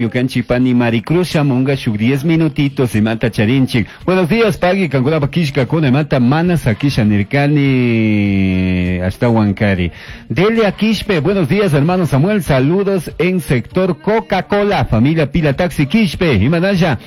Ñukanchik pani Maricruz shamunga shuk 10 minutitos imata charinchik. Buenos días, pagui, kankunapa killkakuna imata mana sakisha nirkani ashtawan kari. Delia Quispe, buenos días, hermano Samuel, saludos en sector Coca-Cola, familia Pila Taxi Quispe, imanalla.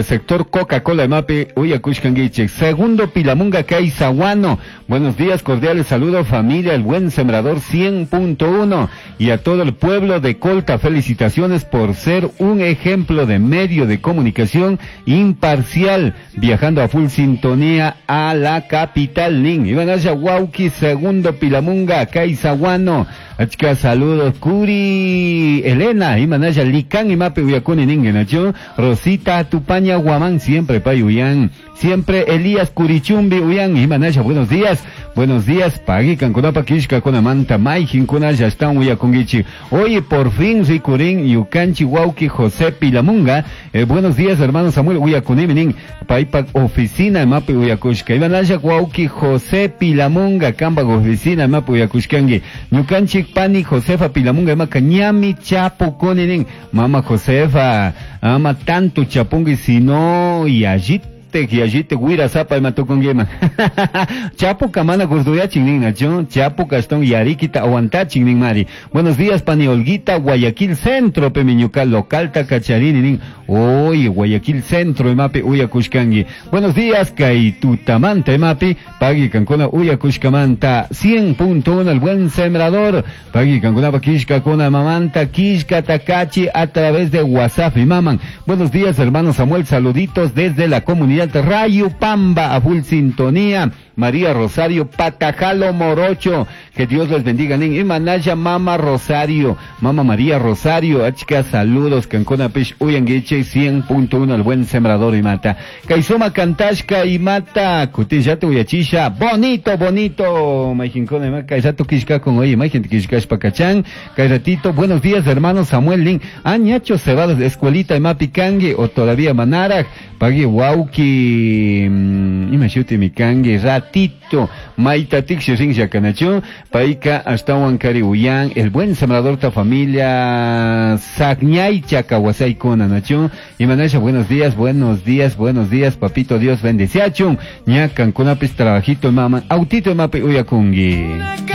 Sector Coca-Cola Mape, Uyakushkanguichik. Segundo Pilamunga Caizahuano. Buenos días, cordiales saludos, familia, el buen sembrador 100.1 y a todo el pueblo de Colta. Felicitaciones por ser un ejemplo de medio de comunicación imparcial, viajando a full sintonía a la capital. Nin. Iván Wauki, segundo Pilamunga Caizahuano. Achka saludos, Curi Elena, Imanaya Lican y Mape Uyakuni Ningenacho, Rosita Tupaña Guamán, siempre Pay Uyan, siempre Elías Curichumbi Uyan, Imanaya, buenos días, Pagui Canconapa Kishka Conamanta, Maijin Kunaya, están Uyakungichi. Oye, por fin Ricurín, Yucanchi Wauki, José Pilamunga, buenos días, hermano Samuel Uyakuniminin, Paipak Oficina, Mape Uyakushka, Imanaya Wauki, José Pilamunga, Kamba Oficina, Mape Uyakushkangi, Ñukanchi Pani Josefa Pilamunga, Maka Ñami Chapo Koninin, Mama Josefa, ama tanto chapungi sino y allí yallite guira zapa imatukunguiman. Chapu kamana gurduyachin nin nacho, Chapu castón yarikita aguantachin nin mari. Buenos días pani Olguita, Guayaquil Centro, pemiñuca local tacacharini nin. Oye, Guayaquil Centro, emapi uyakushkangi. Buenos días, Kaitutamanta, emapi, pagui cancuna uyakushkamanta, 100.1 el buen sembrador, pagui cancuna kishka kuna mamanta, kishka takachi a través de WhatsApp y maman. Buenos días, hermano Samuel, saluditos desde la comunidad Rayo Pamba, a full sintonía. María Rosario Patajalo Morocho, que Dios les bendiga. Nin Imanaya Mama Rosario, Mama María Rosario, Achka, saludos, Cancona Pech, Uyangueche, 100.1, el buen sembrador y mata. Kaizoma Kantashka y mata, Kutillato Uyachisha, bonito, bonito, Majincona, Kaisato Kishka con oye, Majin Kishkash Pacachán, Kairatito, buenos días, hermano Samuel Lin, Añacho Cebados, Escuelita y Mapicangue, o todavía Manaraj, Pagui Wauki, Imashuti Mikangue, Ratito, Maita Tixi Rin Yakanacho, Paika hasta Huancari Uyan, el buen sembrador ta familia Sagñay Chacahuasay Kona Nacho, y Manasha, buenos días, buenos días, buenos días, papito Dios bendeciachun, ñacan kunapis trabajito mama, autito mapi uyakungi.